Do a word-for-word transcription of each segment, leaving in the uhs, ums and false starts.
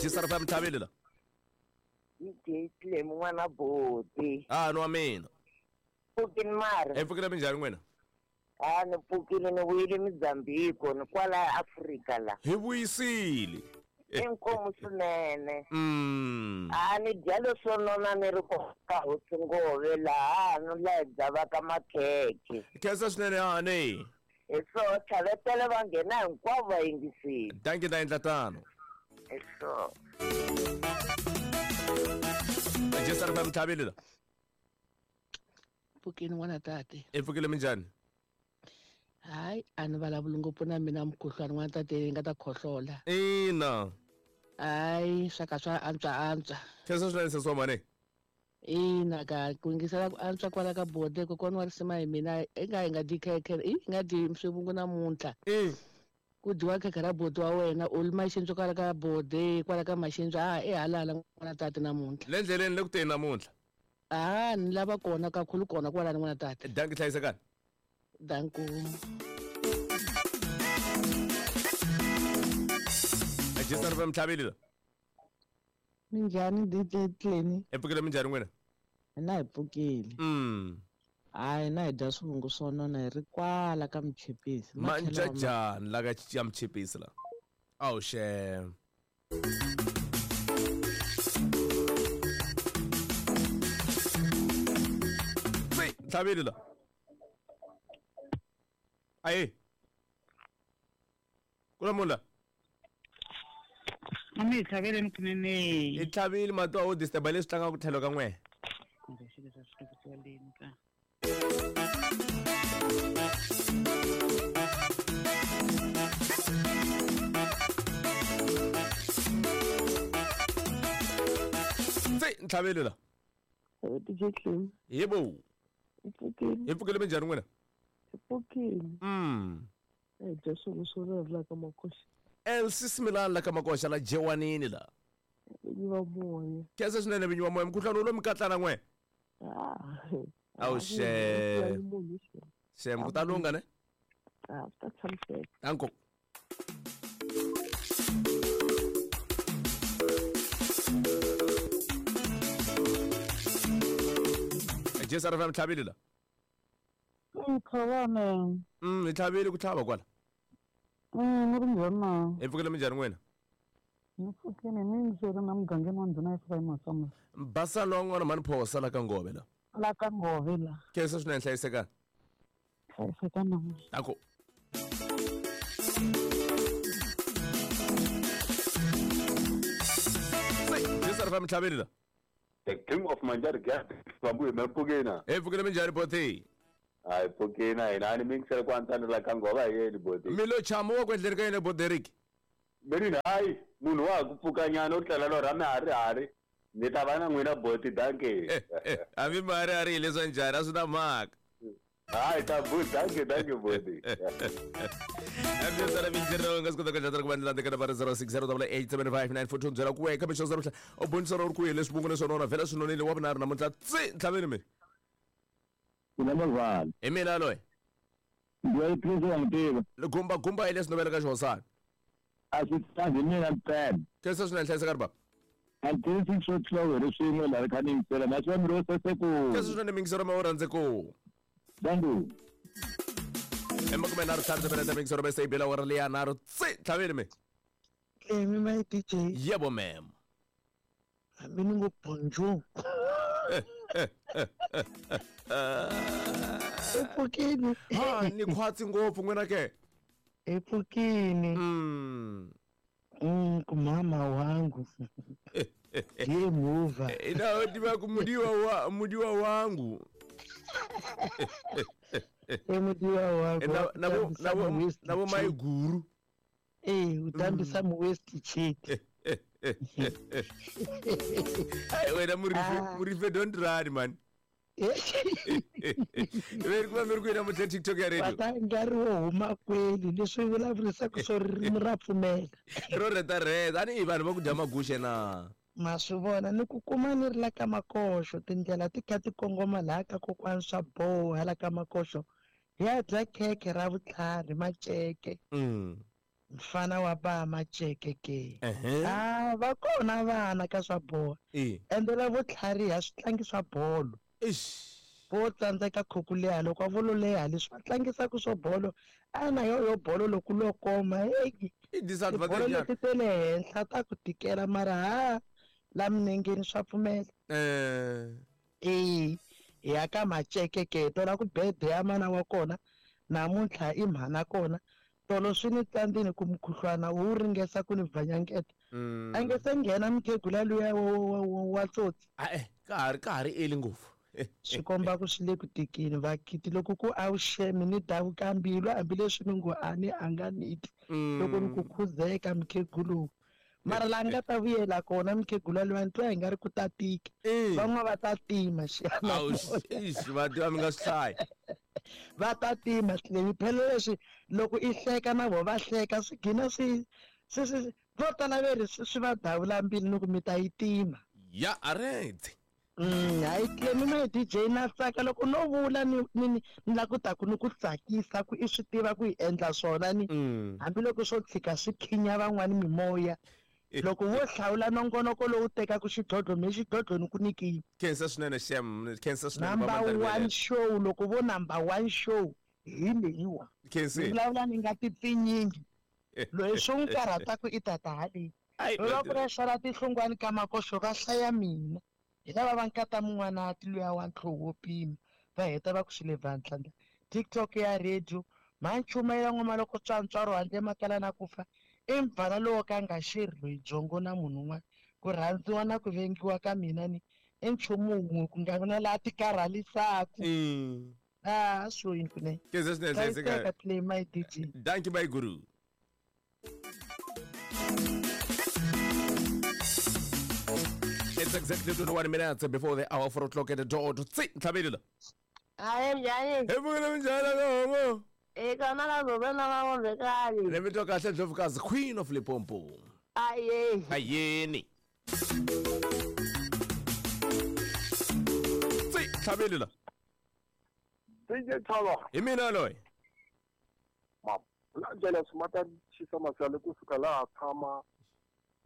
Jisara fa mthabile la. D J Clem n'wana boti. Ah no wa mina. Pfukini mara. E pfukile minjhani n'wina? Ah ni pfukile ni vuyile Mozambique ni kwala Afrika la. Hi vuyisile. Inkomu swinene. Mm. Ah ni dya leswo nona ni ri ka hosi Ngove laha no la dzavaka makhekhe. Khensa swinene hani. Hi swo tlhavetela va nghena hinkwavo va yingisile. Dankie ta endla tano. Hi swo. Jisara fa mthabile la. Pfukini n'wana tate. E pfukile minjhani? Hayi a ni vulavuli ngopfu na mina mukhuhlwani n'wana tate ni nga ta khohlola. Ina. Hayi swa ka swa antswa antswa. Khensa swinene sesi wa mhani. Ina ka ku yingisela ku antswa kwala ka bode kokwana wa risima hi mina i nga hi nga dyi khekhe i nga dyi swivungu namuntlha. Ku dyiwa khekhe ra bodi wa wena u li maxindzo kwala ka bode kwala ka maxindzo a i halala n'wana tate namuntlha. Le ndleleni le ku teni namuntlha. Ah ni lava kona kakhulu kona kwalani n'wana tate. Dankie hlayisekani. Danko. Jisara fa mthabile la. Minjhani D J Clem? E pfukile minjhani n'wina? Hina hi pfukile. Mm. Hayi na hi dya swivungu swo nona hi ri kwala ka Mchipisi. Manjajani la ka ya Mchipisi la. Awu xem. Mthabile la. Ayi. Kula mula. Mami hi tlhavele mkunene. Hi tlhavile mati a wo disturb leswi tlangaka ku tlhelo ka n'we. Kumbe xilo swa swi tlangisiwa ka. Tse ntlhavele la. D J Clem. Yebo. Hi pfukile. Hi pfukile minjhani n'wina? Hi pfukile. Mm. Hi dya swivungu swo nona la ka makoxa. Elsie Similani la ka makoxa la Jewanini la. Vinyi va moya. Khensa swinene vinyi va moya mukhuhlwani wu lo mi katlana n'we. Ah. Awu xem. Xem ku ta lungha ne? Ah, swi ta tshamiseka. Danko. Jisara fa mtlhabile la. Mkhavana. Mm, hi tlhavile ku tlhava kwala. Mm, ni ri njhani na? Hi pfukile minjhani n'wina? Ni pfukile ni ndzi ri na mugangeni wa ndhuna Ephraim Matsonga. Basalo wa n'wana mhani Phosa la ka Ngove la. La ka Ngove la. Khensa swinene hlayisekani. Hlayisekani na n'wina. Danko. Jisara fa mtlhabile la. The King of Manjari Gap Bambu hi pfukile. Hi pfukile minjhani boti? Hayi pfukile hina ni mingisela ku antswana la ka Ngova hi yeni boti. Mi lo chama wa ku endleni ka yena Boderiki. Meri hayi munhu wa ha ku pfukanyana u tlela lorha miharihari ni ta va na n'wina boti dankie. Hambi miharihari hi leswa njhani a swi na mhaka. Hayi ta bu dankie dankie boti. Ambyetsana mintirho nga swi kota ku endla ku va ni landza ka nambara zero six zero double eight seven five nine four two byela ku weka mixo zero u bonisana u ri kwihi leswi vungu leswi nona vhela swi nonile wa vunharhu namuntlha tsi ntlhaveni mi. Mina Mavhala. Hi mina loyi. Loyi Prince wa n'wi tiva. Gumba gumba hi leswi novela ka xihosana. A swi tsangi mina ntsena. Khensa swinene hlayiseka ri baba. Until six o'clock hi ri swin'we laha ri kha ni yingisela na swi va mi ro saseko. Khensa swinene mingisero ma u rhandze ku. Danko. Emakume nharhu ntlhanu timinete mingisero bese yi bela awara leya nharhu tsi ntlhaveni mi. Clem my D J. Yebo ma'am. Hambi ni ngo bonjour. I pfukile. Ha ni khwatsi ngopfu n'wina ke. I pfukile. Mm. Mm, kumama wangu. Ndiye muva. Ina tiva ku mudiwa wa mudiwa wangu. E mudiwa wangu. Na na na na bo mai guru. Eh, utambisa mu waste cheat. Hey, wena murife murife don't run man. Veri ku va mi ri ku namuntlha TikTok ya radio. Va nkarhi wo huma kweli leswi vulavurisaka swo ririmi ra pfumela. Ro reta reta ani i vanhu va ku dya maguxe na. Ma swi vona ni ku kuma ni ri la ka makoxo tindlela ti kha ti kongoma laha ka kokwani swa boha la ka makoxo ya dya khekhe ra vutlhari maceke. Mm. Mfana wa ba Macheke ke. Uh-huh. Ah, va kona vana ka swa bolo. Eh. Ende la vo tlhariha swi tlangi swa bolo. Ish. Vo tsandzeka khukuleha loko va lo leha leswi va tlangisaka swa bolo. Ana yo yo bolo loko lo koma hey. I disadvantage. Bolo leti ta le henhla ta ku tikela mara ha la minengeni swa pfumela. Eh. Eh, ya ka Macheke ke tola ku bede ya mana wa kona namuntlha i mhana kona. Tolo swi ni tsandzini ku mukhuhlwana wu ringesa ku ni vanyangeta. Mm. A nge se nghena mukhegula luya wa tsotsi. Ah eh, ka ha ri ka ha ri eli ngopfu. Swi komba ku swi le ku tikeni vakiti loko ku a wu xemi ni davuka mbilu hambileswi ni ngo a ni a nga niti. Loko ni ku khuzeka mukhegulu. Mara la nga ta vuyela kona mukhegula luya ni twa hi nga ri ku ta tika. Van'wana va ta tima xana. Awu ish va tiva mi nga swi hlayi. Va ta tima swilemi phela leswi loko i hleka na vo va hleka swi gina swi swi swi vo tala veri swi va davula mbilu ni ku mi ta yi tima. Ya aretse. Mm, hayi Clemi my D J na tsaka loko no vula ni ni ni la ku ta ku ni ku tsakisa ku i swi tiva ku hi endla swona ni hambiloko swo tshika swi khinya van'wani mimoya. Loko wo hlawula nongonoko lowu tekaka xidlodlo me xidlodlo ni ku nyikile. Khensa swinene xem, khensa swinene Number one show loko vo number one show hi leyiwa. Khensa. Ni vulavula ni nga tipfinyingi. Loyi swo n'wi karhataka i tata haleyi. Loko va xala tinhlungwani ka makoxo va hlaya mina. Hi lava va nkata mun'wana luya wa ntlhoho wo pima va heta va ku swi le vandla. TikTok ya radio manchumayela n'wama loko tswantswaro handle makala na ku fa. I mbvala lowo ka nga xeri loyi byongo na munhu un'wana ku rhandziwa na ku vengiwa ka mina ni i nchumu wun'we ku nga na laha ti karhalisaka. Ah, swo yini kunene. Khensa swinene Hlayiseka. Play my D J. Thank you my guru. It's exactly twenty-one minutes before the hour four o'clock at the door to see Ntlhabelelo. Hayi njhani? Hi pfukile minjhani ka E kona la zobe na va vekani. Le vito kahle Ndlovukazi Queen of Limpopo. Aye. Ayeni. Tsi Ntlhabelelo. D J Thaba. Hi mina loyi. Ma la ndlela swimata xisa masale kusuka laha tshama.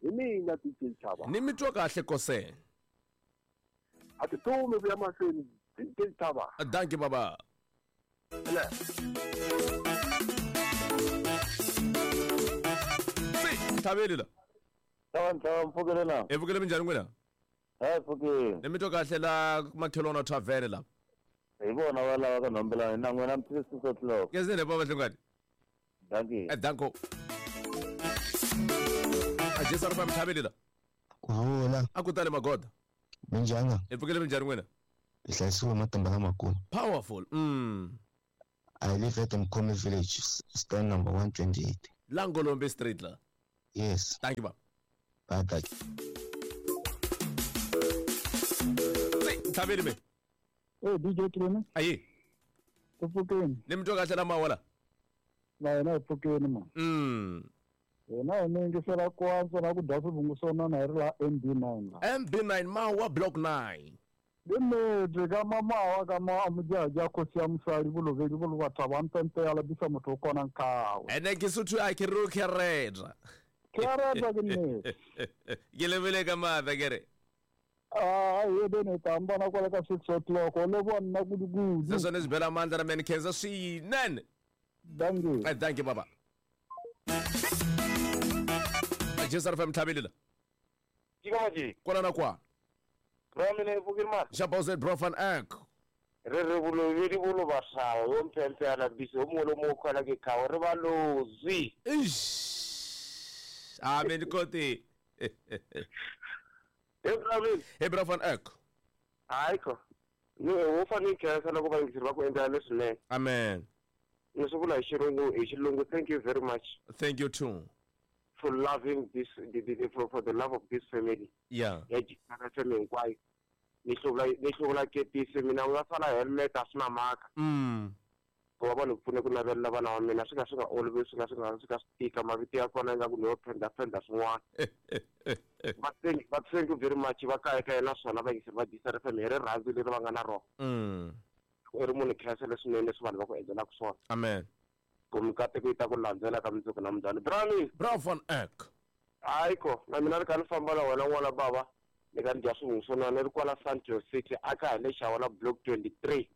Hi mina D J Thaba. Ni mitwa kahle kose. A ti tumi ku ya mahlweni D J Thaba. Thank you baba. Le. Ntlhabelelo. Tava ntava mpfukile na. E pfukile minjhani n'wina? Ha pfukile. Ni mitwa kahle la makhelwana tavern la. Hi vona va lava ka nombelana na n'wina mi six o'clock. Ke sene baba hlungani. Thank you. Eh danko. Ajesa rupa Ntlhabelelo. Ku vula. A ku tale magoda. Minjhani? E pfukile minjhani n'wina? Hi hlayisiwe matimba lamakulu. Powerful. Mm. I live at Mkomi village, stand number one twenty-eight. Langolombe Street la. Yes. Thank you, baba. Bye, thank you. Ntlhabeli me. Eh D J Clemi. Aye. Ku pfukeni. Ni mitwa kahle la mawala. Na yena hi pfukeni ma. Mm. Hina hi yingisela ku antswa na ku dya swivungu swo nona hi ri la M B nine la. M B nine Mawa Block nine. Nnete ka mamawa ka ma mojaja khosi ya mosadi bolovedi bo le batho ba mpempe ya labisa motho o kona nkawe. Ene ke Sotho a ke re ke reta. Ke reta ke nnete. Ke lebele ka matla ke re. Ah, ye bene ta mbona kwala ka six o'clock o le bona kudu-kudu. Se sone se bela mandla na men khensa swinene. Thank you. Eh, thank you baba. Jesa F M Ntlhabelelo. Ke ka maje. Kwala na kwa. Ramene pfukile ma. Jabose bro van Eck. Re re bolovedi bo lo basao yo mpempe ya labisa o mongwe le mongwe o kgona ke khawo re ba lozi. Ish. Amen kote. Hey Bravin. Hey bro van Eck. Hayi ko. Ni wo fanele khensa loko va yingiseri va ku endlela leswinene. Amen. Ni swi vula hi xirungu hi xilungu thank you very much. Thank you too. For loving this the, the, the, for, for the love of this family. Yeah. Ya jikana family hinkwayo. Ni hluvula ni hluvula kepisi mina u nga sala helmet a swi na mhaka. Mm. Ku va vanhu pfune ku navelela vana va mina swi nga swi nga olovi swi nga swi nga swi nga swi tika mavito ya kona ingaku ni yo phenda phenda swin'wana. But thank but thank you very much va kaya kaya naswona va yingiseri va D C F M hi rirhandzu leri va nga na rona. Mm. U ri munhu khensa leswinene leswi vanhu va ku endlelaka swona. Amen. Ku mikateko yi ta ku landzela ka mundzuku na mundlwana. Brownie. Brown van Eck. Hayi ko, na mina ni kha ni famba na wena n'wana baba. Ni kha ni dya swivungu swo nona ni ri kwala Santo City aka hi le Xawala block twenty-three.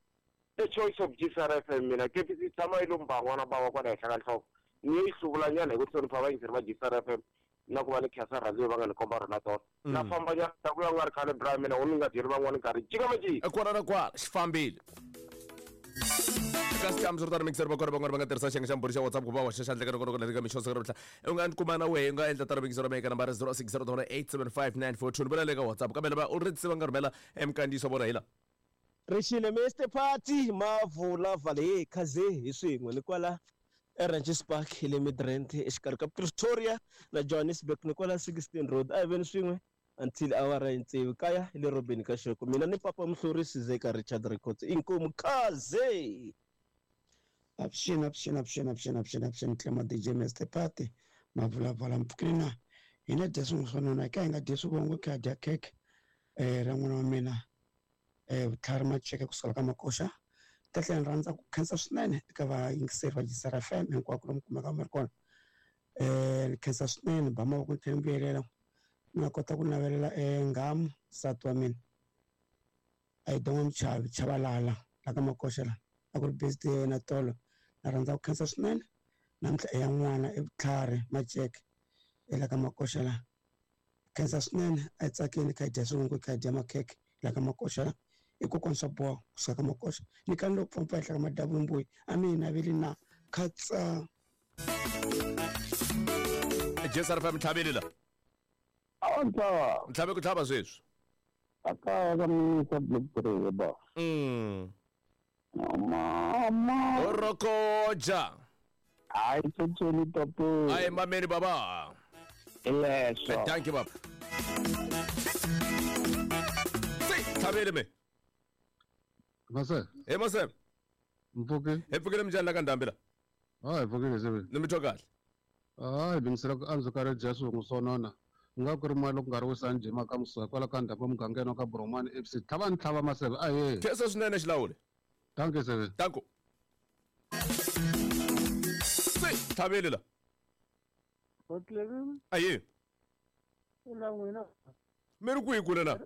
The choice of G S R F M mina K P C tshama yi lo mba n'wana baba kwala henhla ka nhloko. Ni yi hluvulanyana hi ku hlonipha vayingiseri va G S R F M na ku va ni khensa rhandzu va nga ni komba rona tona. Na famba nyana ta ku ya nga ri khale bra mina u ni nga byeli van'wana nkarhi. Jika maji. Kwala na kwala xi fambile. Ka scams ro tala mixer va kona van'wana va nga tirhisa xiyenge xa mbhuri xa WhatsApp ku va hoxa xandla ka loko loko ka mixo siku ra u nga ni kuma na wehe u nga endla tala mixer ra ka nambara zero six zero eight seven five nine four two ni vula le ka WhatsApp kambe lava u ri va nga rhumela emkandziyiso wa vona hi la. Rixile Mister Party mavula vale khaze hi swin'we ni kwala eRanches Park hi le Midrand exikarhi ka Pretoria na Johannesburg ni kwala sixteen Road a hi veni swin'we until awara ya tsevu kaya hi le Robeni ka Xoko mina ni papa Mhlorisi Zeka Richard Records inkomu khaze. Avuxeni avuxeni avuxeni avuxeni avuxeni avuxeni Clement D J Mister Party mavulavala mpfukile na hina dya swin'we swo nona ka hi nga dyi swivongo kha dya cake eh ra n'wana wa mina eh vutlhari Macheke kusuka ka Makoxa. Ta tlhela ni rhandza ku khensa swinene eka vayingiseri va G S R F M hinkwako lomu kumeka mi ri kona. Eh ni khensa swinene ba mavoko ni tlhela ni vuyelela ni nga kota ku navelela eh nghamu nsati wa mina a hi donga Muchavi Chabalala la ka Makoxa la a ku ri birthday ya yena tolo. Na rhandza ku khensa swinene namuntlha i ya n'wana i Vutlhari Macheke la ka Makoxa la. Khensa swinene a hi tsakeni kha hi dya swivungu kha hi dya makhekhe la ka Makoxa la. I kokwana swa boha kusuka ka Makoxa ni kani loko pfampa henhla ka madavumbuyi a mi hi naveli na khatsa. G S R F M tlhaveli la. Awa ntlhava. Ntlhave ku tlhava sweswi. A kaya ka minisa block three ba. Mm. Mama. Orokoja. Hayi tsotsoni tapo. Hayi mameni baba. Leswo. Thank you baba. Si tlhaveli me. Mase. Hey Mase. Mpfuke. Hi pfukile minjhani la ka ndhambi la? Hayi pfukile sebe. Ni mi twa kahle. Hayi bingisela ku antswa ka ri dya swivungu swo nona. Nga ku ri mali loko nga ri wisani jima ka musuka kwala ka ndhambi mugangeni wa ka Boromani F C. Tlhava ni tlhava Maseve ahe. Khensa swinene xilawuli. Thank you sebe. Thank you. Si tlhaveli la. Aye. Ula n'wina. Mi ri kwihi kule na?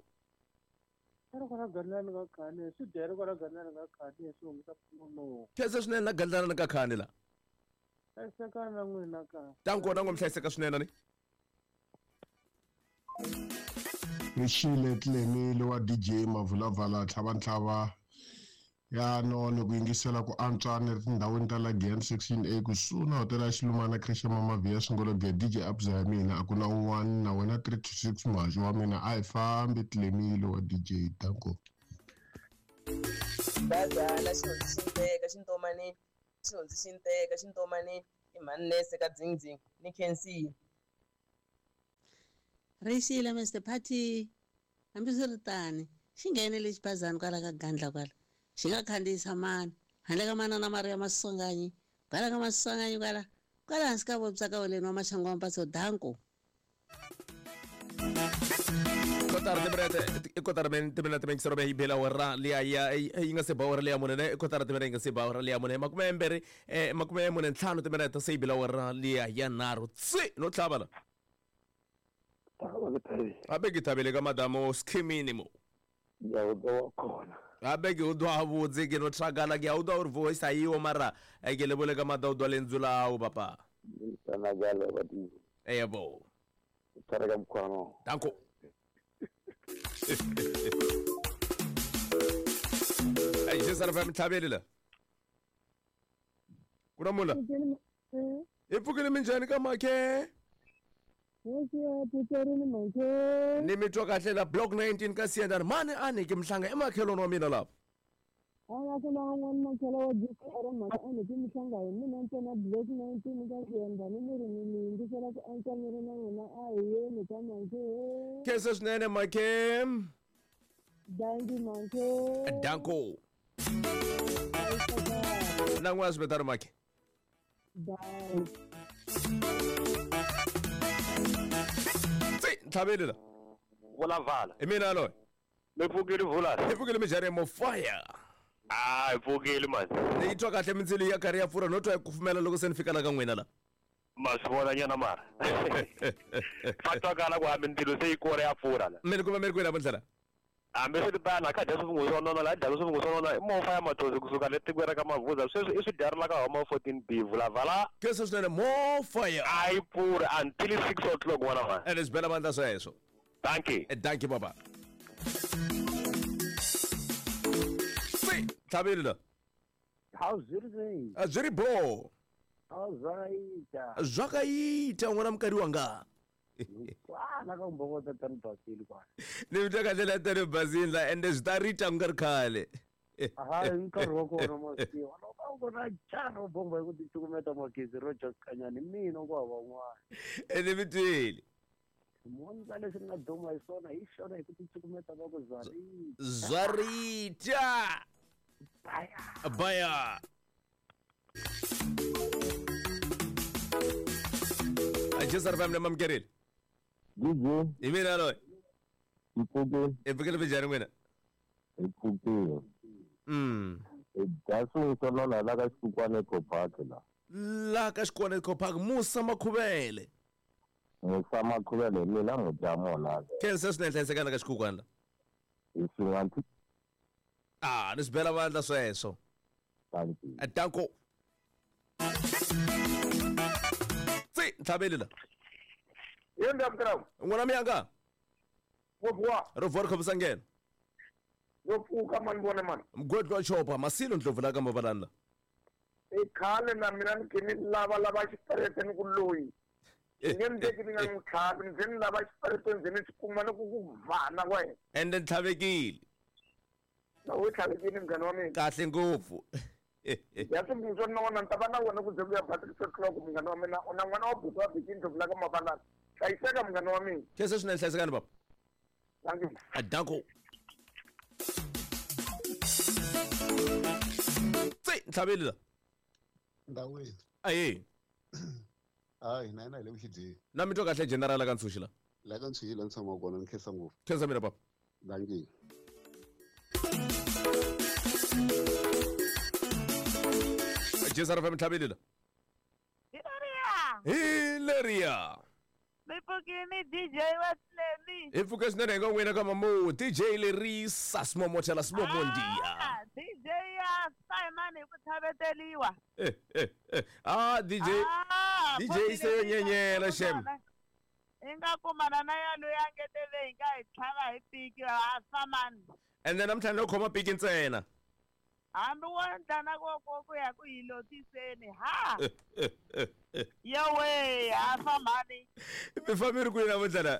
Khensa swinene na gandlana ka khani la. Tanko na n'wi hlayiseka swinene ni. Rixile Tlemile wa D J Mavulavala tlhava ntlhava ya none ku yingisela ku antswa ni ri tindhawini ta la Giyani section A kusuhi na hotela ya Xilumana Creche Mama Via Swingolobye D J Abza ya mina a ku na un'wana na wena three to six muhaxi wa mina a hi fambi Tlemile wa D J Danko. Badala xihundzi xi nteka xintomanini xihundzi xi nteka xintomanini i mhani ka dzindzing ni khensile. Rixile Mister Party hambiswiritano xi nghenele xiphazana kwala ka gandla kwala xi nga khandziyisa mani handle ka manana Maria Masonganyi kwala ka Masonganyi kwala kwala hansi ka vopsa ka woleni wa maxangu wa mpatso danko. Kotara timinete i kotara timinete mingisero yi bela wera liya ya yi nga se ba wera liya mune ne kotara timinete yi nga se ba wera liya mune makume mbirhi eh makume mune ntlhanu timinete se yi bela wera liya ya nharhu tsi no tlhava la. Abe ke thabile ka madamo skimini mo. Ya u ḓo khona. Abe ke u ḓo vhudze ke no thagala ke a u ḓo uri voice ayiwo mara ke lebole ka mada u ḓo lenzu lawo papa. Sana gale badi. Yebo. Tshwara ka mkhwano. Danko. Ay G S R F M tlhaveli la. Kuna mula. I pfukile minjhani ka makhe? Ni mi twa kahle la block nineteen ka Siyandani mani a ni ke mhlanga i makhelwani wa mina lapha. Khensa swinene makhe. Danko. Na n'wana swi makhe. Ntlhaveli la. Vulavala. I mina loyi. Mi pfukile vula. Hi pfukile minjhani mo fire. Ah, hi pfukile mani. Ni yi twa kahle mindzilo ya karhi ya pfurha no twa yi kufumela loko se ni fika la ka n'wina la. Ma swi vona nyana mara. Fa twakala ku hambi ndzilo se yi kora ya pfurha la. Mi ni kuma mi ri kwini namuntlha la? Hambi swi ri tano a kha dya swivungu swo nona la dya swivungu swo nona i mofa ya matozi kusuka le tikweni ra ka Mavuza sweswi i swi dyari la ka homa fourteen B vulavala. Khensa swinene mofa ya. A yi pfurhi until six o'clock n'wana wa. Ene swi bela vandla sweswo. Dankie. Dankie baba. Tlhavile la. Hawu zwi ri sei? A zwi ri bo. Hawu zwakaita. Zwakaita n'wana mukari wanga. Kwana ka mbokota tani basile kwana. Ni mi twa kahle la tani basile la ende swi ta rita ku nga ri khale. Aha, nkarhi wa kona masiwa. Loko u kona charo bomba hi ku ticukumeta magezi ro just kanyani mina ku hava un'wana. Ene mi twile. Mondza leswi ni nga duma hi swona hi xona hi ku ticukumeta va ku zwarita. Zwarita. Baya. Baya. Ajisa family mamkerile. D J. Hi mina loyi. Hi pfukile. Hi pfukile minjhani n'wina? Hi pfukile. Mm. Hi dya swin'we swo nona la ka Xikukwana Eco Park la. La ka Xikukwana Eco Park Musa Makhuvele. Musa Makhuvele hi mina mudya mona. Khensa swinene hlayisekana ka Xikukwana la. Hi swin'wana. Ah, ni swi bela vandla sweswo. Thank you. Danko. Tsi, ntlhaveli la. Yenda mkrawu. N'wana miyanga. Wo Ro vhora khomisa ngeno. Yo pfuka mani vona mani. Mgwedlo wa chopa masilo ndlovu la ka mavalani la. I khale na mina ni khe ni lava lava xiparete ni ku loyi. Nge ndeki ni nga n'wi tlhavi ndzi ni lava xiparete ndzi ni xi kuma ni ku ku vana wena. Ende ni tlhavekile. Na u tlhavekile munghana wa mina. Kahle ngopfu. Ya swivungu swo nona ni ta va na wena ku ze ku ya ba six o'clock munghana wa mina u na n'wana wa buti wa biki ndlovu la ka mavalani. Hlayiseka munghana wa mina. Khensa swinene hlayisekani baba. Thank you. Danko. Tsi, ntlhaveli la. Ndawini. Aye. Hayi, na yena hi le ku xidyeni. Na mi twa kahle general ka Ntshuxi la. La ka Ntshuxi la ni tshamaka kona ni khensa ngopfu. Khensa mina baba. Dankie. Jesa ra ntlhaveli la. Hilariya. Hilariya. Mi pfukini D J wa Tlemi. Hi pfuke swinene hi nga n'wina ka mamu D J Lerisa Simomothela Simomondiya. Ah, D J ya Simon hi ku tlhaveteliwa. Eh eh eh. Ah D J. Ah, D J se yo nyenyela shem. Hi nga kumana na ya loyi a ngetele hi nga hi tlhava hi piki a Samani. And then namuntlha no khoma piki ntsena. Hambi wo endla na ku ku ku ya ku hi lotiseni ha. Yowe a Samani. Mi fambi ri kwini namuntlha la?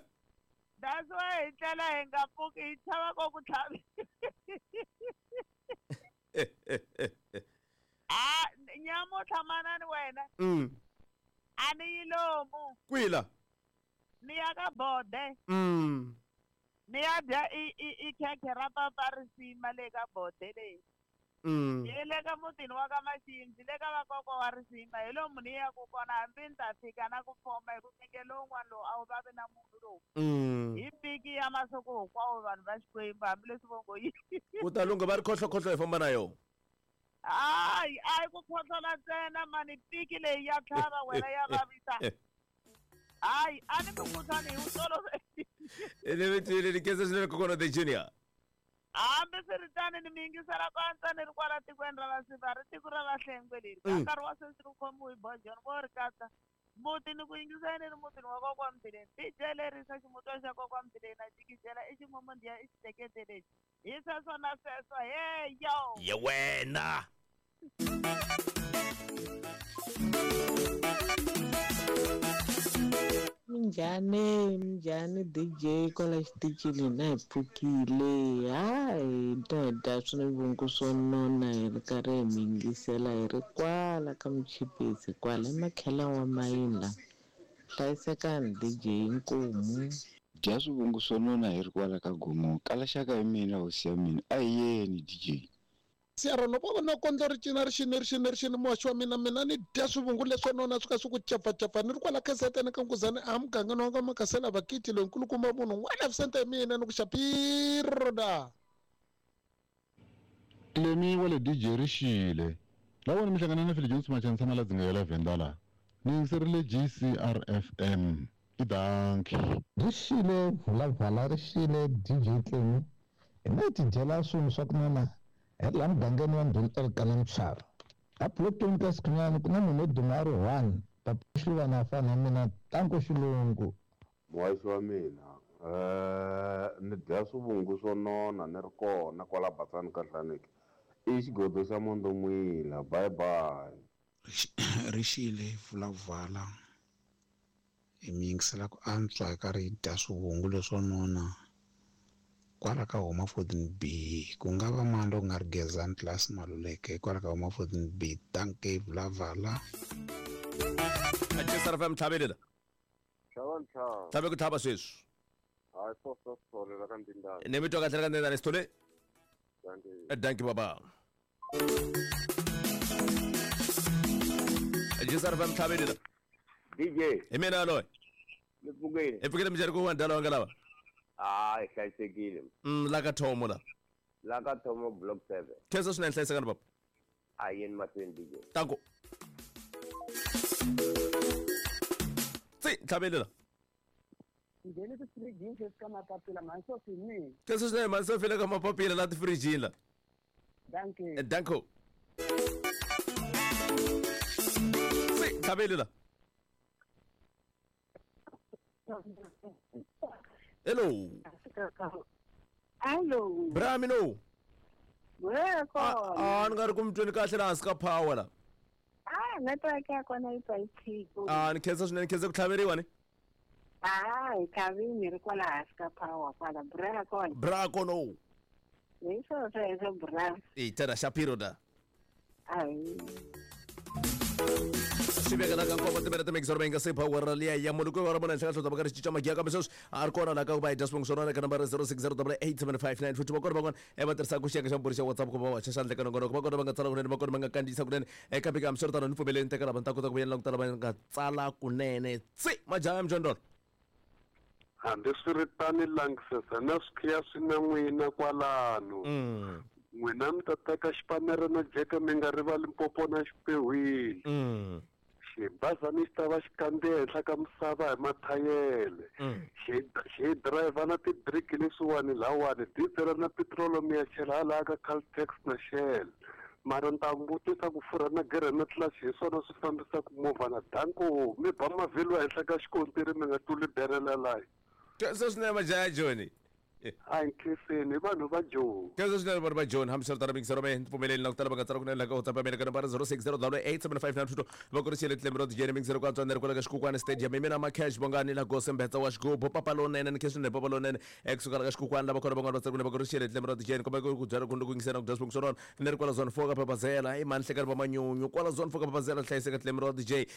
That's why hi tlela hi nga pfuki hi chava ko ku tlhavi. Ah, nyamutlha manani wena. Mm. A ni yi lomu. Kwihi la? Ni ya ka bode. Mm. Ni ya dya i i i khekhe ra papa risima le ka bode leyi. Mm. Hi le ka mutini wa ka Maxindzi le ka vakokwa wa risima hi lomu ni yaku kona hambi ni ta fika na ku foma hi ku nge lowun'wana lowu a wu vavi na munhu lowu. Mm. Hi piki ya masiku hinkwawo vanhu va Xikwembu hambileswi vo ngo yi. Ku ta lungha va ri khohlokhohlo hi famba na yona. Hayi a yi ku khohlola ntsena mani piki leyi ya tlhava wena ya vavisa. Hayi a ni mukhuhlwani hi wu tolovele. Ni mi twile ni khensa swinene kokwana the junior. Hambi swiritano ni mi yingisela ku antswa ni ri kwala tikweni ra Vasiva ri tiko ra Vahlengwe leri. Ka Mm. nkarhi wa sweswi ri khomiwe hi Bojoni vo ri katsa muti ni ku yingisela ni ri mutini wa kokwa Mbileni. D J Lerisa ximutwa xa kokwa Mbileni na jikijela i ximomondiya i xitekete lexi. Hi sweswo na sweswo hey yo. Ye wena. Minjhani minjhani D J kwala xitichini na hi pfukile hayi ta hi dya swivungu swo nona hi ri karhi hi mi yingisela hi ri kwala ka Muchipisi kwala emakhela wa mayini la hlayisekani D J inkomu. Dya swivungu swo nona hi ri kwala ka Gomo kala xaka hi mina hosi ya mina a hi yeni D J. Siyaro no vona kondlo ri cina ri xini ri xini ri xini muhaxi wa mina mina ni dya swivungu leswo nona swi ka swi ku cafacafa ni ri kwala khasetene ka Nkuzani a mugangeni wa ka Makasela Vakiti loyi nkulukumba munhu n'wana Vicente hi mina ni ku xapiro da. Clemi wa le D J Rixile lawona mi hlangana na Phil Jones Machanisa na la dzinga ya la Venda la ni yingiserile G C R F M i danki Rixile Vulavala Rixile D J Clemi hi na tidyela swinhu swa ku nona hi laha mugangeni wa Ndhuli eRikana Mutshava a Blockton ka Sikhunyani ku na munhu wo duma a ri one papa Xiluvana a fana na mina tanko xilungu muhaxi wa mina eh ni dya swivungu swo nona ni ri kona kwala Batsani ka Hlaneki i xigodo xa Mondomwila bye bye Rixile Vulavala hi mi yingisela ku antswa hi karhi hi dya swivungu leswo nona kwala ka Homa fourteen B ku nga va mani loko nga ri Gezani Class Maluleke kwala ka Homa fourteen B danke Vulavala G C R F M tlhavelela Tlhava ntlhava tlhave ku tlhava sweswi hayi swo swo swo la ka ndindani ni mi twa kahle ka ndindani Sithole danke danke baba G C R F M tlhavelela D J hi mina yaloye ni pfukile hi pfukile minjhani ku wa ndala wanga lava hayi hlayisekile mm la ka Thomo la la ka Thomo block seven khensa swinene hlayisekani baba a yeni mahlweni D J tanko tsi tlhavelela Ngheni tifirijini sweswi ka mapapila mhani Sophie hi mina khensa swinene mhani Sophie le ka mapapila la tifirijini la danke danko tsi tlhavelela Hello. Hello. Bramino. Weko. Ah, ni nga ri ku mi tweni kahle laha hansi ka power la. Ah, network ya kona yi twa yi tshika. Ah, ni khensa swinene, ni khensa ku tlhaveriwa ni. Ah, hi tlhavini ri kwala hansi ka power kwala bra kona. Bra kono. Hi swo sweswo bra. Eh, tana Shapiro da. Ai. Swi veka la ka nkombo timere timekisoro va nga se power liya ya munhu ku va mona henhla ka hlota va karhi cinca magiya kambe sweswi a ri kona laha ka ku va hi dya swivongo swa rona ka nambara zero six zero double eight seven five nine futhi va kona van'wana e va tirhisaka xiyenge xa mbhuri xa WhatsApp ku va va xaxa handle ka nongonoko va kona va nga tsala kunene va kona va nga kandziyisa kunene kambe ka hambiswiritano ni pfumeleni teka lava ni ta kota ku vuyela ku tala va nga tsala kunene tsi majaha ya mjondolo hambiswiritano langisesa na swikhiya swi na n'wina kwalano n'wina mi ta teka xipanere na jeke mi nga rivali mpopo na xipehwile xibazana xi ta va xi kandziya henhla ka misava hi mathayele xi xi driver na tibiriki leswiwani lawani diesel na petrol mi ya chela hala ka Caltex na Shell mara ni ta vutisa ku furha na gere na clutch hi swona swi fambisaka movha na danko mi ba mavhilwa henhla ka xikontiri mi nga tluli berela layi se swinene majaha Johnny a hi nkhiseni vanhu va Joni khensa swinene vanhu va Joni hambiswiritano mingisero me ni pfumeleli na ku tala va nga tsala kunene la ka WhatsApp ya mina ka nambara zero six zero double eight seven five nine two two va ku ri xile tlembe ro dijeni mingisero ku antswa ni ri kwala ka Xikukwani Stadium hi mina Macash Bongani la Gose Mbetsa wa xigubu papa lonene ni khensa swinene papa lonene ekusuka la ka Xikukwani lava kona van'wana va tsala kunene va ku ri xile tlembe ro dijeni kumbe ku byala ku yingisela ku dya swivongo swa rona ni ri kwala zone four ka Papazela i mani hlekani va manyunyu kwala zone four ka Papazela hlayiseka tlembe ro D J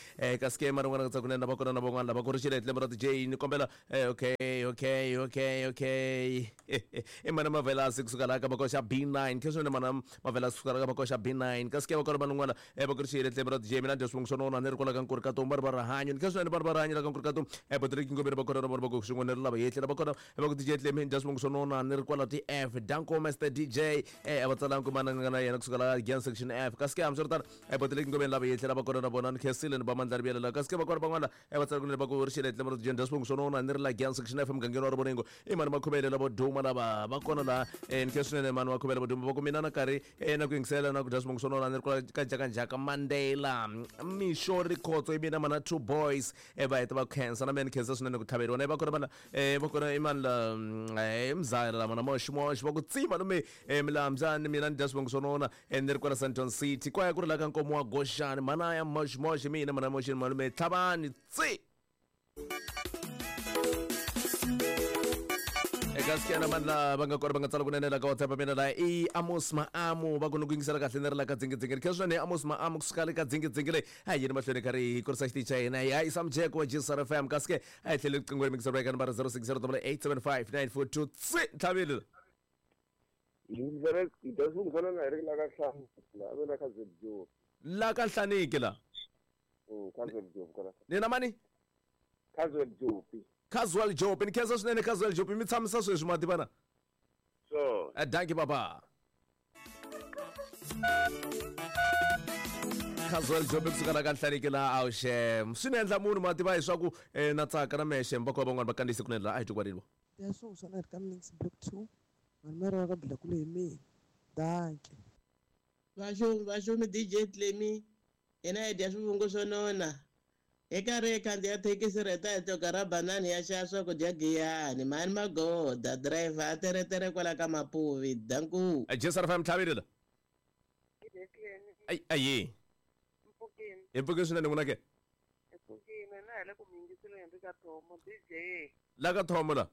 ka skema rin'wana nga tsala kunene va kona na van'wana lava ku ri xile tlembe ro D J ni kombela okay okay okay okay i mana Mavelasi kusuka laha ka makoxa B nine khe swinene mana Mavelasi kusuka laha ka makoxa B nine kasi ke va kona van'wana e va ku ri xile tlembe ra D J mina dya swivongo swa nona ni ri kwala ka Nkuri Katumba ri va rihanyo ni khe swinene vanhu va rihanyo la ka Nkuri Katumba e Patrick Ngobeni va kona na vona va ku xin'wana ri lava yehle lava kona va ku D J Tlemi dya swivongo swa nona ni ri kwala T F Danko Master D J e va tsalangi ku mana nga na yena kusuka laha Gian section F kasi ke hambiswiritano e Patrick Ngobeni lava yehle lava kona na vona ni khensile ni va mandla ri la kasi ke va kona van'wana e va tsala kunene va ku ri xile tlembe ra D J dya swivongo swa nona ni ri la Gian section F mugangeni wa Rivoningo i mani makhomele lavo duma lava va kona laha ni khe swinene mani wa khomela vo duma va ku mina na karhi na ku yingisela na ku dya swivongo swa nona ni ri kwala ka Njhakanjhaka Mandela Mixo Rikhotso i mina mana two boys e va heta va khensa na mina ni khensa swinene ku tlhaveriwa na va kona vana va kona i mani la mzaya la mana moximoxi va ku tsima lume milambyani mina ni dya swivongo swa nona ni ri kwala Sandton City kwaya ku ri la ka Nkomo wa Goxani mana ya moximoxi mina mana moxini malume tlhavani tsi eka na mandla va nga kona va nga tsala kunene la ka WhatsApp mina la i Amos Maamu va ku ni ku yingisela kahle ni ri la ka dzingidzingi khe swinene Amos Maamu kusuka le ka dzingidzingi leyi a hi yini mahlweni karhi hi kurisa xitichi xa hina hi hayisa mujeko wa G S R F M kasi ke a hi tlhele riqingho ri mingiselo eka nambara zero six zero double eight seven five nine four two tsi tlhavile la ka Nhlaniki la ni na mani Casual Jopi Casual Jopi ni khensa swinene Casual Jopi mi tshamisa sweswi ma tivana so danki baba Casual job kusuka la ka Nhlaniki la awuxem swi ni endla munhu ma tiva leswaku na tsaka na mexe va van'wana va kandziyise kunene la a hi twi kwaleni. Ya swivungu swa nona ka Mnix Block two mani mara ka Blakule hi mina danke. Vaxumi vaxumi D J Clemi hina hi dya swivungu swo nona hi karhi hi khandziya thekisi reta hi tluka ra banani ya xava swakudya giyani mani magoda driver a teretere kwala ka Mapuvi danku. J S R F M tlhavile la. Ai ayi. Hi pfukile swinene n'wina ke? Hi pfukile na hi le ku mi yingiseleni ri ka Thomo D J. La ka Thomo la?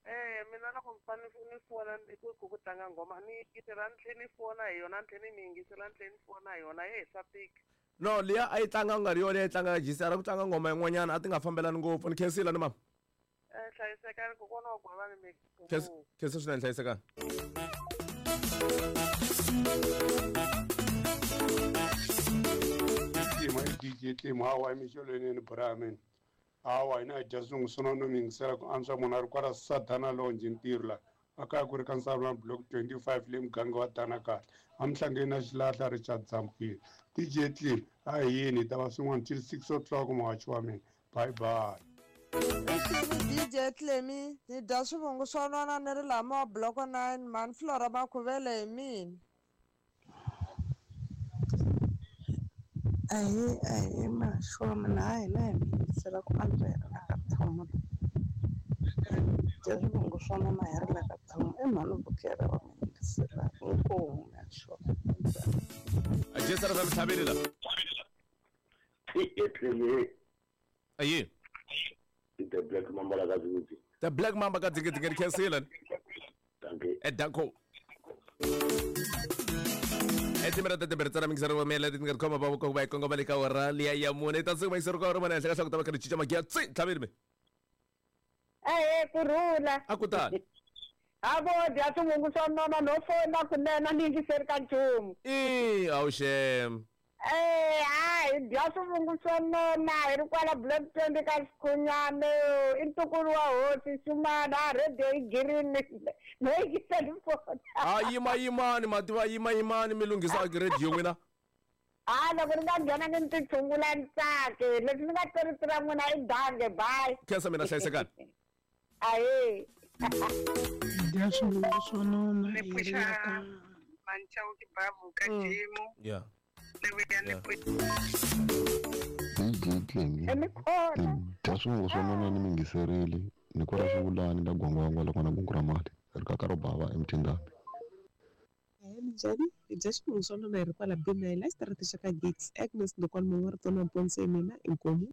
Eh mina loko mi fanele ni fona ku ku ku tlanga nghoma ni yingisela ni tlhela ni fona hi yona ni tlhela ni mi yingisela ni tlhela ni fona hi yona ye swa tika. No liya a yi tlanga ku nga ri yona yi tlanga G C R ku tlanga nghoma yin'wanyana a ti nga fambelani ngopfu ni khensile ni mama. Eh hlayisekani kokwana wa Gwavani mi. Khensa swinene hlayisekani. D J Clem hawa emixolweni Brahman hawa hina hi dya swivungu swo nona mi yingisela ku antswa munhu a ri kwala Sadana Lounge ntirho la a kaya ku ri ka Nsavula Block twenty-five le muganga wa Dana kahle a mihlangeni na xilahla Richard Zamkile D J Clem a hi yini hi ta va swin'wana till six o'clock muhaxi wa mina bye bye. D J Clemi ni dya swivungu swo nona ni ri lama wa Block nine mani Flora Makhuvele hi mina. Ahee ahee maxo mina ha hina hi mi yingisela ku antswa hi ri la ka Thomo dya swivungu swo nona hi ri la ka Thomo i mhani Bukela va mi yingisela inkomu maxo. J S R F M tlhavile la. Ayi. The Black Mamba la ka Dzingidzi. The Black Mamba ka Dzingidzi ngi khensile. Danke. Eh danko. Etimera tete tsara mingisero wa mela ti nga khoma ba ko ba kongo ba le ka ora liya ya mune ta tsuma isero ka ora mana hleka hlaka ta ba ka chicha magiya tsi tlhavile me. Eh kurhula. A ku tani. A vo dya swivungu swo nona no fona kunene ni yingiseri ka nchumu. I awuxem. Eh hayi dya swivungu swo nona hi ri kwala Block twenty ka Xikhunyane i ntukulu wa hosi Xumana a radio yi girini no yingiseli fona. A yima yimani mativa yima yimani mi lunghisa radio n'wina. A loko ni nga nghena ni ti tshungula ni tsake leswi ni nga tirhisi ra n'wina i dange bye. Khensa mina hlayisekani. Ahee. Dya swivungu swo nona Ni hi ri pfuxa la ka Manchauki Babu ka Jimu. Yeah. D J Clemi dya swivungu swo nona ni mi yingiserile ni kwala swivulani la gwangwangwa loko na gungu ra mali ri ka ka ro bava emtindambi. Ahee minjhani hi dya swivungu swo nona hi ri kwala B nine la xitarateni xa ka Gigs Agnes Ndokwana Mongwe ri tsona Mponse mina inkomu.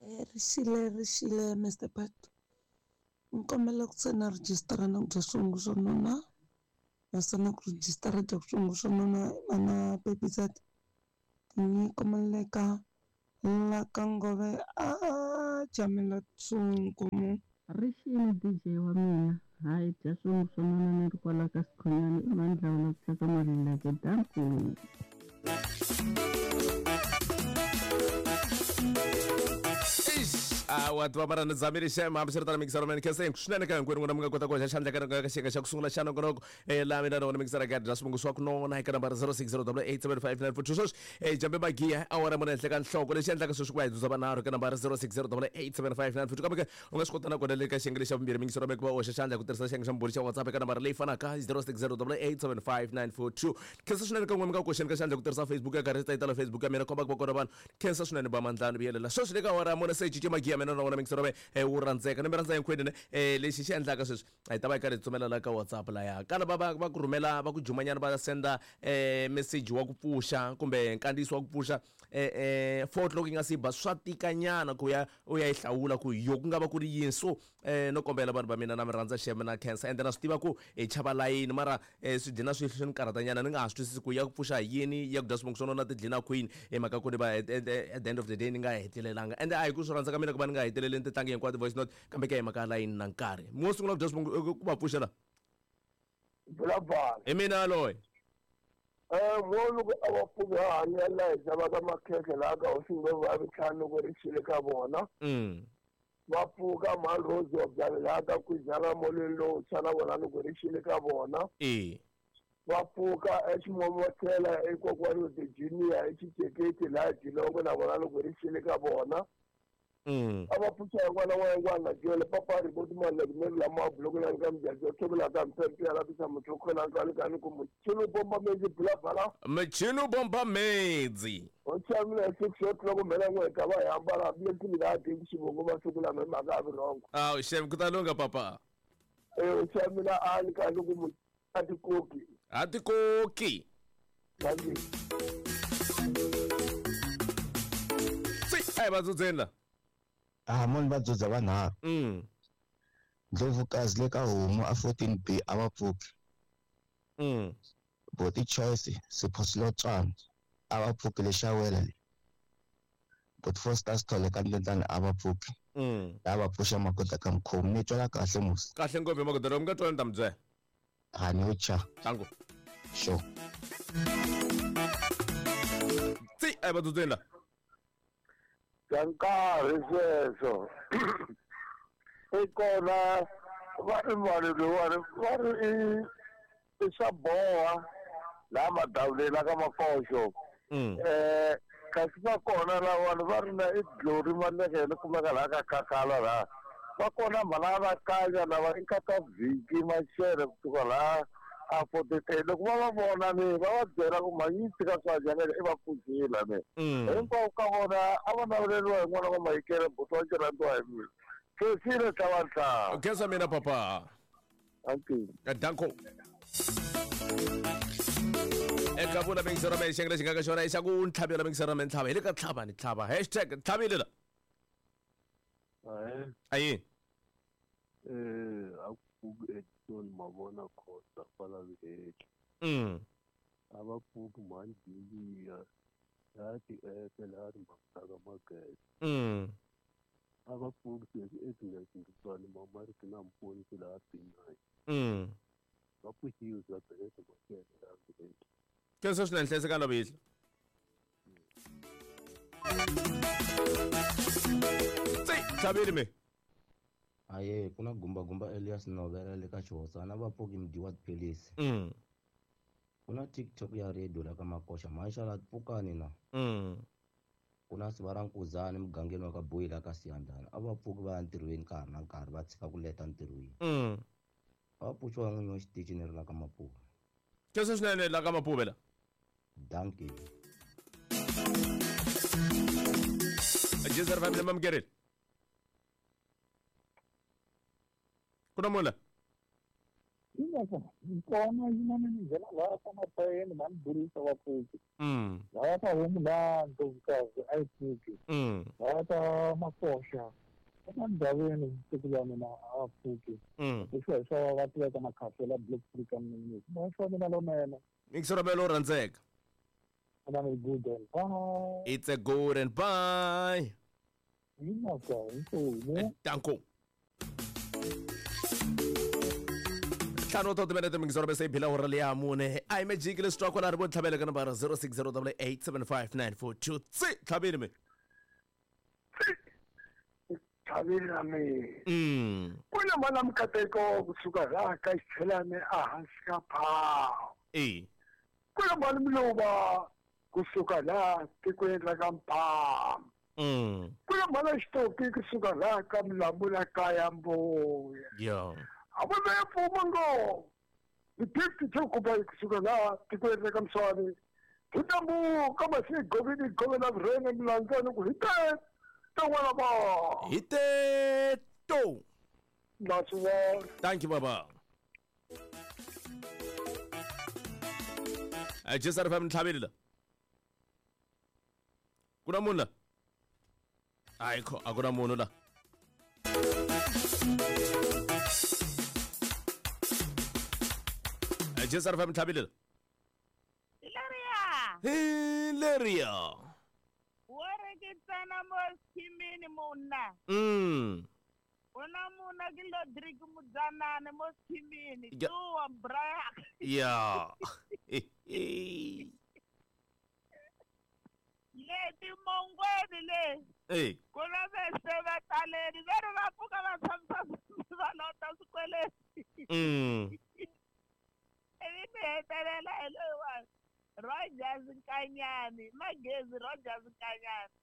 Eh rixile rixile Mister Pat ni kombela ku tsena rejistara na ku dya swivungu swo nona naswona ku rejistara dya swivungu swo nona na Pepizat ni kombela ka la ka Ngove a jamela tsungu. Rixile D J wa mina hayi dya swivungu swo nona ni ri kwala ka Sikhonyana i mandlawula ku thyaka Maluleke danku. A wa tiva mara ni zamile xem hambiswiritano mingisero mina khensa swinene ka hinkwenu n'wina mi nga kota ku hoxa xandla ka ka xiyenge xa ku sungula xa nongonoko laha mina na wona mingisera ka dya swivungu swa ku nona eka nambara zero six zero double eight seven five nine four two sweswi eh jambe magiya awara mune henhla ka nhloko lexi endlaka sweswi ku va hi dzudza vanharhu eka nambara zero six zero double eight seven five nine four two kambe ke u nga swi kota na kona le ka xiyenge lexa vumbirhi mingisero mi ku va u hoxa xandla hi ku tirhisa xiyenge xa mbhuri xa WhatsApp eka nambara leyi fanaka zero six zero double eight seven five nine four two khensa swinene ka n'we mi nga koxeni ka xandla hi ku tirhisa Facebook ya karhi tayitala Facebook ya mina komba ku va kona vanhu khensa swinene ba mandlani vuyelela sweswi le ka awara mune se cince magiya mina na wona mingisero me wu rhandzeka ni mi rhandza hinkwenu ne lexi xi endlaka sweswi a hi ta va hi karhi hi tsumela la ka WhatsApp laya kana va va va ku rhumela va ku jumanyana va senda message wa ku pfuxa kumbe nkandziyiso wa ku pfuxa eh four o'clock yi nga si ba swa tikanyana ku ya u ya yi hlawula ku yo ku nga va ku ri yini so eh no kombela vanhu va mina na mi rhandza xem na khensa ende na swi tiva ku hi chava layini mara swi dlina swi swi ni karhatanyana ni nga ha swi twisisi ku ya ku pfuxa hi yini ya ku dya swivungu swo nona ti dlina kwini hi mhaka ku ni va at the end of the day ni nga hetelelanga ende a hi ku swi rhandza ka mina ku va ni nga heteleleni titlangi hinkwato voice note kambe ke hi mhaka layini na nkarhi mo sungula ku dya swivungu ku va pfuxela Bulabala. Hi mina loyi. Eh mo loko a va pfuka hanya la hi xavaka makhekhe laha ka hosi va ntlhanu ku ri xile ka vona. Mm. Va pfuka mhani Rose wa byala laha ka Kwijana molweni lowu tshwa na vona loko ri xile ka vona. Eh. Va pfuka eximomotela ekokwani Virginia exiceketi laha Jilongo na vona loko ri xile ka vona. Mm. A va pfuxa yin'wana na yin'wana jele papa ri boti mali ku meri lama buloko la ka mjaji thobela ka mpempe ya lapisa motho khona ka le ka ni ku mchino bomba mezi bula bala mchino bomba mezi o tshamile six o'clock mela n'we ka va hambana bile ti la ti xivongo va siku la mhaka a vurhongo aw shem ku ta lunga papa eh o tshamile a ni ka ni ku a ti koki a ti koki si ai va dzudzela Ah, moni va dzudza vanharhu. Mm. Ndlovukazi le ka homu a fourteen B a va pfuki. Mm. Boti Choice Sipho Silotswana a va pfuki le Xawela le. Boti Foster Sithole ka Ndlendlane a va pfuki. Mm. La va pfuxa magoda ka mkhomi ni twala kahle musi. Kahle ngopfu magoda lomu nga twala ni ta mi byela. Ha ni yo cha. Tango. Sure. Tsi ai va dzudzela. Ka nkarhi sweswo i kona va ri vanhu loyiwani va ri i i swa boha laha madavuleni la ka makoxo um kasi va kona lavani va ri na i Glory Malekele kumeka laha ka Khakhala laha va kona mhala va kanya lava i nkata vhiki Maxele kusuka laha a forty-three loko va va vona ni va va byela ku manyisi ka swa dyangele i va pfuxile ni hinkwavo ka vona a va naveleriwa hi n'wana wa Mayikele buti wa xirhandziwa hi mina khensile tlhavantlhava khensa mina papa danko eka vula mingisero me xengele xi nga ka xona i xa ku ntlhavela mingisero me ntlhava hi le ka tlhava ni tlhava hashtag tlhavile la ayi eh a ku Edson Mavona Khosa kwala Viheki. Mm. A va pfuki mhani Biliya laha ti-app laha ri magede. Mm. A va pfuki sweswi Agnes Nduswani Mamariki na Mponisi laha B nine. Mm. Va pfuxiwe bya Belete Mashele laha Viheki. Khensa swinene hlayiseka na vihla. Tsi tlhavile me. Aye kuna gumba gumba Elias Novela le ka Xihosana va pfuki mdyiwa tiphilisi. Mm. Kuna TikTok ya radio la ka Makoxa maxala pfukani na. Mm. Kuna Sivara Nkuzani mugangeni wa ka Boyila ka Siyandhani a va pfuki va ya ntirhweni nkarhi na nkarhi va tshika ku leta ntirhweni. Mm. A va pfuxiwa n'winyi wa xitichi ni ri la ka Mapuve. Khensa swinene la ka Mapuve la. Dankie. Jezer family mamkerile. Kuna munhu la Kona yin'wana ni nghena laha ka Mapayeni mhani Burisa va pfuki. Mm. Laha ka homu laha Ndlovukazi a yi pfuki. Mm. Laha ka Makoxa eka ndhawini siku la mina a va pfuki. Mm. Leswi hi swa va tiveka makhafela Block three ka Mninisi. Moya wa mina lowunene. Mingisero me lowu rhandzeka. Good and bye. It's a good and bye. Yinaka inkomu. Danko. Ntlhanu wa timinete mingisero bese yi bila hora leya mune a hi magic leswi twa kwala ri vo tlhavela ka nambara zero six zero double eight seven five nine four two tsi tlhavile me tlhavile na mina mm. Ku na mana mikateko kusuka laha ka xichelani ehansi ka phawu e ku na mani miluva kusuka laha tikweni ra ka Mpama mm. ku na mana xitoki kusuka laha ka Milamula kaya Mbuya yeah. A va ve pfuma ngopfu ni fifty two kuba kusuka laha tikweni ra ka Mswani hi tambuka masi govini govela vurhene milandzani ku hi te to n'wana va hi te to na swi vona. Thank you baba. A Jesar F M ntlhavile la ku na munhu la ayikho a ku na munhu la Jesar F M ntlhavile la Hilaria Hilaria Wo mo schimini munna. Mm. Una muna ke Lodrik Mudzanane mo schimini tuwa bra. Yeah. Le timongweni le. Eh. Kuna vese va taleni va ri va pfuka va tshamisa va lota swikweleti. Mm. Ivi ni heta hetelela hi loyiwani Rogers Nkanyani Magezi Rogers Nkanyani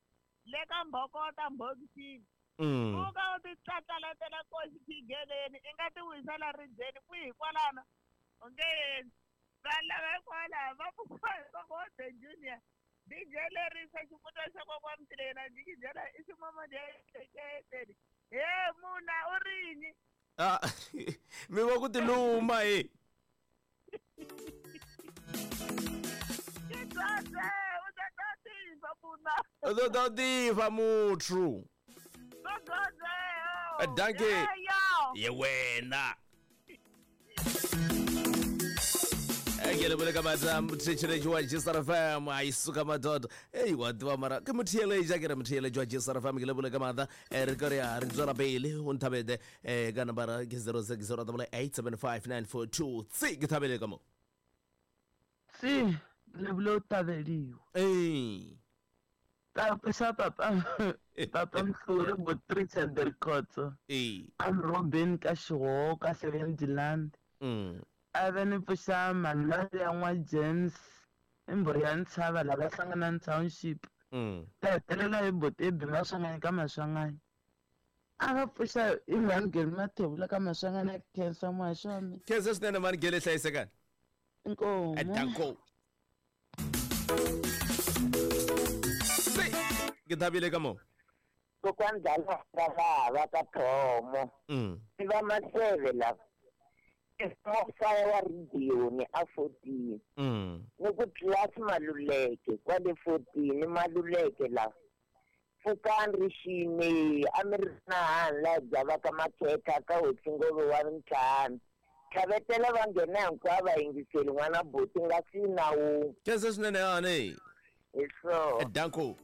le ka Mbhokota Mbhokisini pfuka u ti tlatlalatela koxi khigeleni i nga ti wisela ribyeni kwihi kwalano u nge endli vanhu lava hikwalaho va pfuka hi Junior D J lerisa xifuta xa kokwa Mtilena jikijela i ximomodeketeni he muna u rini ah mi va ku tiluma he u ta ta tiva muthu danke ye wena ke matla motheeletši wa G S R F M a isuka madoda ei wa tiva mara ke motheeletši a ke re motheeletši wa G S R F M ke lebole ka matla re ka re ya re tswela pele o nthabete um ka nambara ke zero six zero double eight seven five nine four two tse ke thabele ka mo tse lebole o tabeliwa ee papa papa papa mhlore botrice and records ee I'm Robin ka Xihoka ka Seventy Land mm a ve ni pfuxa mhani ya n'wa James i mbhuri ya ntshava lava hlangana township ta hetelela hi botebi Maswanganyi ka Maswanganyi a va pfuxa i mhani Mathebula ka Maswanganyi a khensa muhaxi wa mina khensa swinene mhani Gele hlayisekani inkomu danko ke thabile ka mo kokwani dlala va ka Thomo i va Maseve lava mofaya wa radioni a fourteen ni ku tlilasi Maluleke kwale fourteen Maluleke la pfukani rixini a mi ri na hani laha byavaka makhekha ka hosi ngove wa ntlhanu tlhavetela va nghena hinkwavo va yingiseli n'wana buti nga si na wun'we khensa swinene yani hi swona danko